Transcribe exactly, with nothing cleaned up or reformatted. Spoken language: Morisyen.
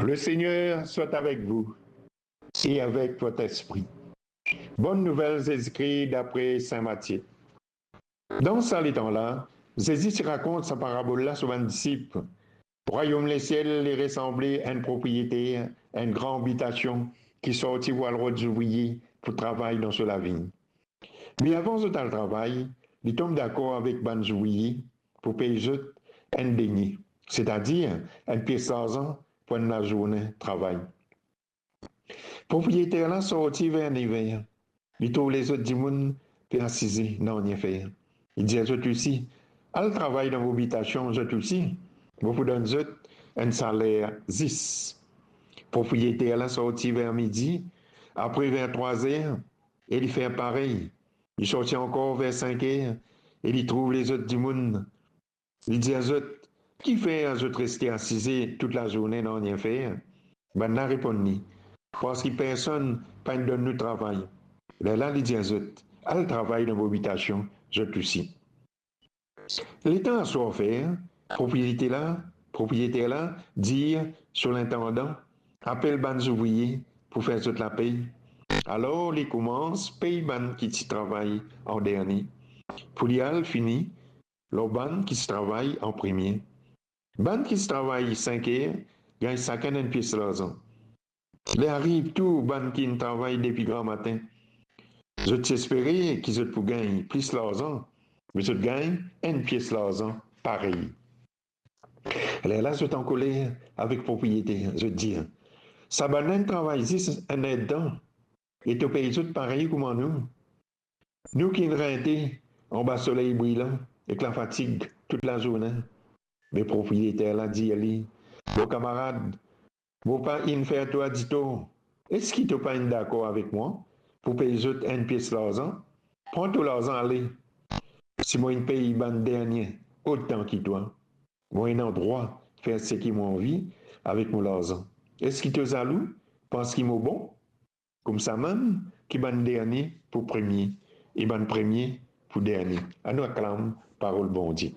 Le Seigneur soit avec vous et avec votre esprit. Bonne nouvelle Zezi Kri dapre Sin Matie. Dan sa letan la, Zezi ti rakont sa parabol la so bann disip. Rwayom lesiel li resanble enn propriyeter enn gran abitasion ki sorti pou al rod zouvrie pou travay dan so lavign. Me avan zot al travay, li tom dakor avek bann zouvrie pou pey zot enn denie, setadir enn pies larzan pou enn lazourne travay. Propriyeter la sorti ver nev er, li trouv lezot dimoun pe asize, nanye fer. Li dir zot osi, al travay dan mo abitasion zot osi, mo pou donn zot enn saler zis. Propriyeter la sorti ver midi, apre ver trwa zer, e li fer parey. Li sorti ankor ver sink er e li trouv lezot dimoun. Li dir zot, kifer zot reste asize tou lazourne, nanye fer? Bannla reponn li, parski personn pa'nn donn nou travay. Lerla li dir zot, al travay dan mo abitasion zot osi. Letan aswar fer, propriyeter la, propriyeter la dir so lintandan, apel bann zouvrie pou fer zot lapey. Alor li koumans pey bann ki ti travay an dernie, pou li al fini lor bann ki ti travay an premie. Bann ki ti travay sink er gagn sakenn enn pies larzan. Li ariv tou bann ki inn travay depi gramatin. Zot ti espere ki zot pou gagn plis larzan, me zot gagn enn pies larzan parey. Lerla zot ankoler avek propriyeter, zot dir, sa bann-la inn travay zis enn erdtan, e to pey zot parey kouma nou? Nou ki inn rente anba soley brilan ek lafatig tou lazourne. Me propriyeter la dir li, mo kamarad, mo pa inn fer twa ditor. Eski to pa inn dakor avek mwa pou pey zot enn pies larzan? Pran to larzan ale. Si mo inn pey bann dernie otan ki twa, mo ena drwa fer seki mo anvi avek mo larzan. Eski to zalou parski mo bon? Koumsamem ki bann dernie pou premie, e bann premie pou dernie. Anou aklam parol Bondie.